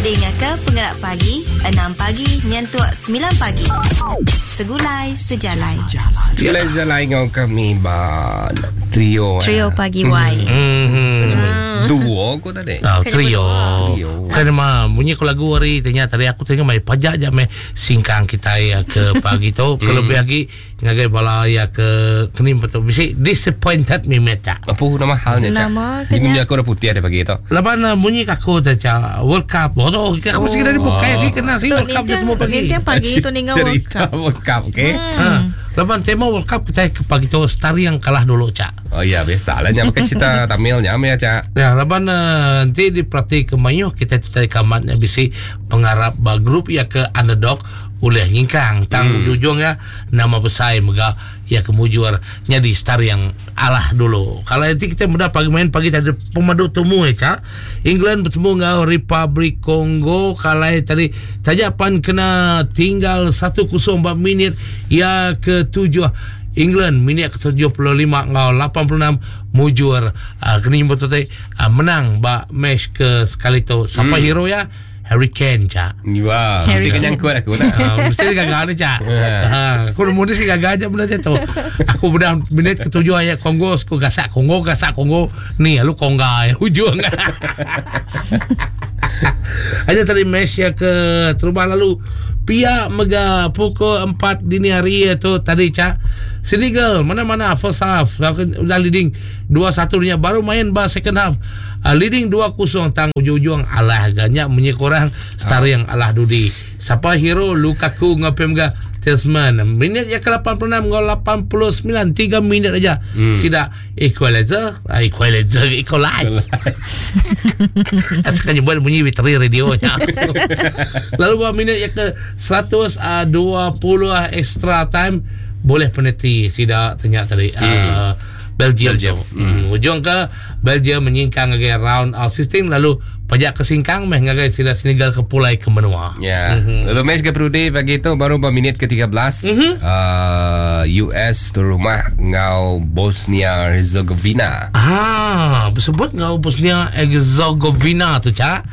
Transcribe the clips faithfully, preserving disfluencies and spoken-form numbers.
Dengar ke Pengerak Pagi, enam pagi nyentuk sembilan pagi. Segulai sejalai. Segulai sejalai ngau kami ba trio. Trio eh. Pagi Y. Mm-hmm. Duo aku tadi. Oh, trio. Trio. Kan mah bunyi ku lagu hari tanya tadi aku tengok mai pajak je mai singkang kita ya ke pagi tu kelebih lagi ngagai bala ya ke kenim betul bisi disappointed mi meta. Apa nama halnya cak? Nama Ini kenya. bunyi aku dah putih ada pagi tu. Laban uh, bunyi aku tu cak World Cup. Oh, tu kita aku mesti kena dibuka sih kena sih Tu World Cup je semua pagi. Nintiang pagi tu ninga World Cerita Cup. World Cup, okey? Ha. Laban tema World Cup kita ke pagi tu star yang kalah dulu cak. Oh ya, biasa lah nyam pakai cerita Tamil nyam ya cak. Ya, laban uh, nanti diperhati ke mayu kita tu tadi kamatnya bisi pengarap ba grup ya ke underdog oleh nyingkang tang hmm. ujung ya nama besar mega ya kemujur nyadi star yang alah dulu. Kalau nanti kita muda pagi main pagi tadi pemadu temu ya cak. England bertemu dengan Republik Kongo kalau tadi tajapan kena tinggal satu kosong empat minit ya ke tujuh England minit ke tujuh puluh lima ngau lapan puluh enam mujur uh, kena nyebut tadi uh, menang ba match ke sekali tu. Siapa hmm. hero ya? Harry Kane cak. Wah, Harry mesti Kane. kenyang kuat aku nak. Uh, mesti gagal ni cak. Ha, aku nemu ni si gagal aja benda tu. Aku benda minit ketujuh ayat Kongo, aku gasak Kongo, gasak Kongo. Ni lalu Konga ya hujung. Aja tadi match ya ke terubah lalu pihak mega pukul empat dini hari tu tadi cak. Senegal mana-mana first half udah leading dua satu dia baru main bah second half. Uh, leading dua kosong tang ujung-ujung alah ganyak munyi korang star yang alah dudi. Siapa hero Lukaku ngapem ga Talisman minit yang ke lapan puluh enam gol lapan puluh sembilan tiga minit aja. Hmm. Sida equalizer, equalizer, equalize. Asalkan buat bunyi bateri radionya. Lalu buat minit yang ke seratus dua puluh extra time boleh penalti sida tanya tadi. Hmm. Uh, Belgium. Belgium. Hmm. Ujung ke Belgium menyingkang ke round of sixteen lalu pajak ke singkang meh ngagai sida Senegal ke pulai ke menua. Ya. Mm-hmm. Lalu match ke Perudi pagi tu baru ber minit ke tiga belas mm-hmm. uh, U S tu rumah ngau Bosnia Herzegovina. Ah, bersebut ngau Bosnia Herzegovina tu cak.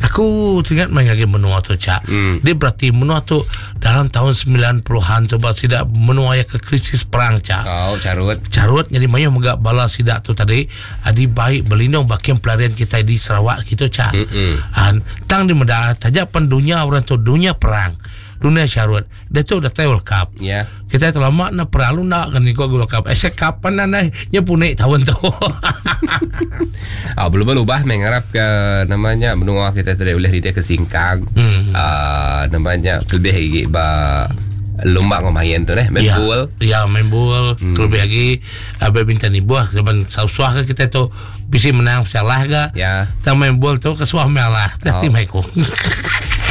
Aku teringat main ngagai menua tu cak. Mm. Dia berarti menua tu dalam tahun sembilan puluhan sebab sida menua ya ke krisis perang cak. Oh, carut. Carut jadi mayu megak bala sidak tu tadi adi baik berlindung bakian pelarian kita di Sarawak gitu cak. An tang di meda tajak pen dunia orang tu dunia perang, dunia syarut. Dia tu dah tahu World Cup. Ya. Yeah. Kita tu lama nak perang lu nak kan ikut World Cup. Asia Cup pan nak nya punik tahun tu. Ah belum berubah mengharap ke namanya menua kita tidak boleh ritik ke singkang. Hmm. Ah namanya lebih lagi ba lomba ngemain tu eh main ya, bool. Ya main bool hmm. Lebih lagi uh, badminton ni buah depan suah ke kita tu bisa menang salah ke. Ya. Kita main bool tu kesuah melah. Berarti Oh. main ku.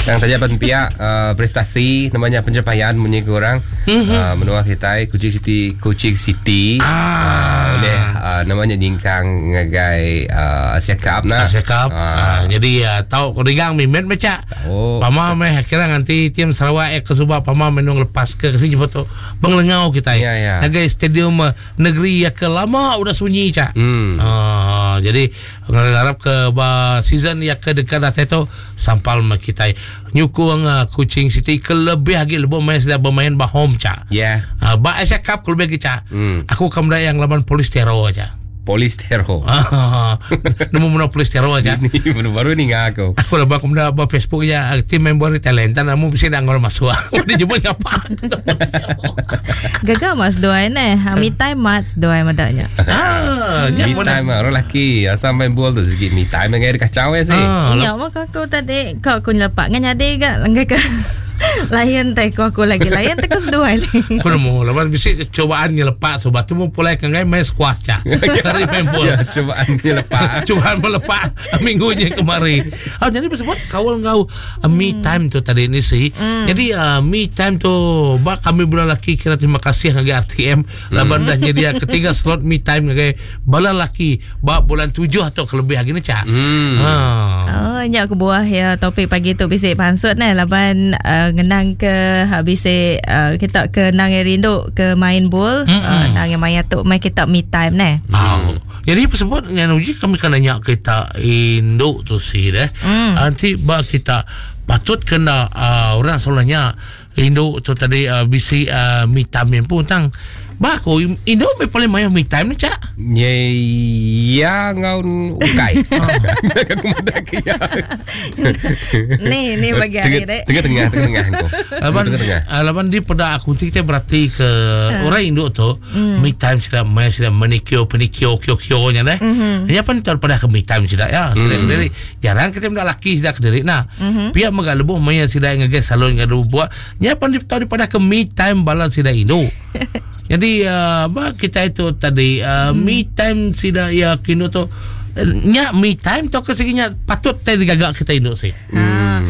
Yang saja pen pihak uh, prestasi namanya pencapaian munyi kurang mm-hmm. uh, menua kita Kuching City Kuching City ah. uh, oleh uh, namanya nyingkang ngagai uh, Asia Cup nah. Asia Cup. Uh. Uh, jadi uh, tahu kau mimet macam. Oh. Pama meh kira nanti tim Sarawak eh ke Subah pama menung lepas ke sini jemput tu benglengau kita. Ya, ya. Ngagai stadium uh, negeri yang ke lama udah sunyi cak. Hmm. Uh, jadi ngarap ke ba season yang ke dekat datang tu sampal mah kita nyukung uh, Kuching City kelebih lagi lebih main sudah bermain bah home cak. Ya. Yeah. Uh, ba Asia Cup kelebih lagi cak. Hmm. Aku kamera yang lawan polis teror aja. Polis teror. Nemu muna polis teror aja. Ini baru-baru ni ngah aku. Aku lebih aku menda ba Facebook ya tim member talenta namu bisa nak ngor masuk. Dia jumpa ngapa. Gagal mas doai neh. Me time mas doai madaknya. Ah, me time orang lelaki asal main bola tu sikit me time dengan dia kacau ya sih. Ah, Ya maka aku tadi kau aku lepak dengan adik gak langgai ke. Layan teh aku aku lagi layan teh aku seduai ni. Aku nemu lepas bisi cobaan ni lepak sobat tu mau pulai ke ngai main squash cak. Hari main bola. Ya, cobaan ni lepak. Cobaan melepak minggunya kemari. Oh, jadi bersebut kawal ngau uh, me time tu tadi ni sih. Mm. Jadi uh, me time tu bak kami bulan laki kira terima kasih ngagai R T M laban dah nyedia ketiga slot me time ngagai bala laki bak bulan tujuh atau kelebih lagi ni cak. Hmm. Ha. Oh, Nyak ke buah ya topik pagi tu bisi pansut nah laban uh, ngenang ke habis uh, kita ke nang rindu ke main bol uh, nang maya tu mai kita me time nah. Oh. Jadi tersebut dengan uji kami kena nyak kita induk tu si deh. Mm. Nanti ba kita patut kena uh, orang selalunya induk tu tadi uh, bisi uh, me time pun tang. Ba aku induk me paling mayo me time ni cak. Ye ya ngau ukai. Aku madak ya. Ni ni bagi hari dek. Tengah-tengah tengah-tengah aku. Laban tengah-tengah. Laban di pada aku ti kita berarti ke orang induk tu me time sudah mai sudah manicure pedicure kyo kyo nya deh. Nya pan tar pada ke me time sudah ya. Sudah diri jarang kita benda laki sudah ke diri nah. Pihak mega lebuh maya sudah ngage salon ngadu buat nya pan di tahu pada ke me time bala sudah induk. Jadi uh, bah kita itu tadi uh, hmm. me time sida ya kino tu nya me time tu ke seginya patut tadi gagak kita induk sih. Hmm.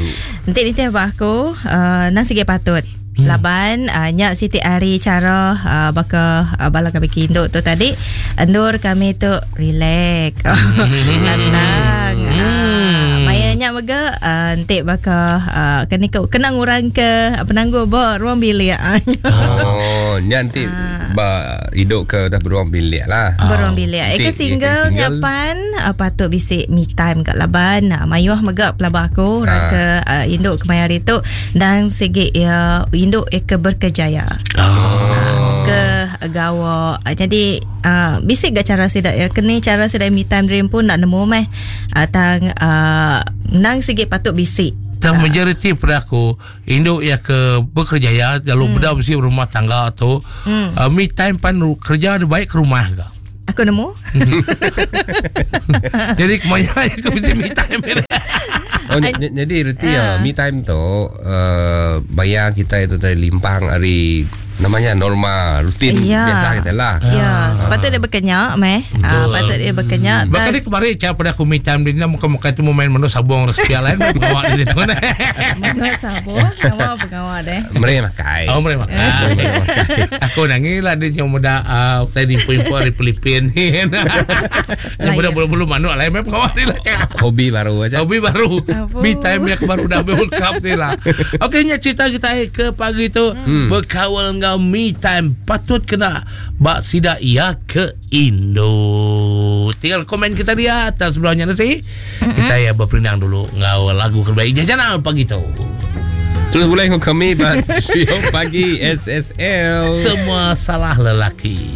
Nanti nanti abah aku uh, nang sige patut. Hmm. Laban uh, nyak siti hari cara uh, baka uh, bala kami induk tu tadi endur kami tu relax. Lantang. Hmm. Uh, maya nyak mega uh, entik baka uh, kena kena ngurang ke penangguh ba ruang bilik. Oh, nyak entik ba hidup ke dah beruang bilik lah. Beruang bilik. Eka single nyapan uh, patut bisik me time kat laban. Uh, mayuh mega pelabah aku ha. Ke uh, induk kemaya hari tu dan segi ya induk eka berkejaya. Oh. Uh, ke gawa. Uh, jadi uh, bisik gak cara sidak ya. Kini cara sidak me time dream pun nak nemu meh. Uh, tang uh, nang segi patut bisik. Tang majoriti pada aku induk ya ke bekerja ya kalau hmm. beda mesti rumah tangga tu hmm. uh, me time pan kerja dia baik ke rumah ke. Aku nemu. Jadi kemaya aku mesti me time. Oh, n- jadi reti ya me time tu uh, bayar kita itu tadi limpang hari namanya norma rutin ya. Biasa kita lah. Ya, sepatutnya dia berkenyak meh. Ah, patut dia berkenyak. Bahkan dia kemarin cara pada aku me time dia muka-muka itu mau main menu sabung rezeki lain bawa dia tu. Menu sabung, kamu pengawal deh. Mereka makai. Oh, mereka makai. Aku nangis lah dia yang muda uh, tadi info-info dari Filipin ni. Yang muda bulu-bulu manuk lain memang pengawal dia lah. Hobi baru aja. Hobi baru. Me time yang baru dah World Cup ni lah. Okey, nya cerita kita ke pagi tu berkawal dengan me time patut kena bak sida ia ke Indo. Tinggal komen kita dia atas sebelahnya nasi. Mm-hmm. Kita ya berperindang dulu ngau lagu terbaik jajanan pagi tu. Terus boleh kau kami buat trio pagi S S L. Semua salah lelaki.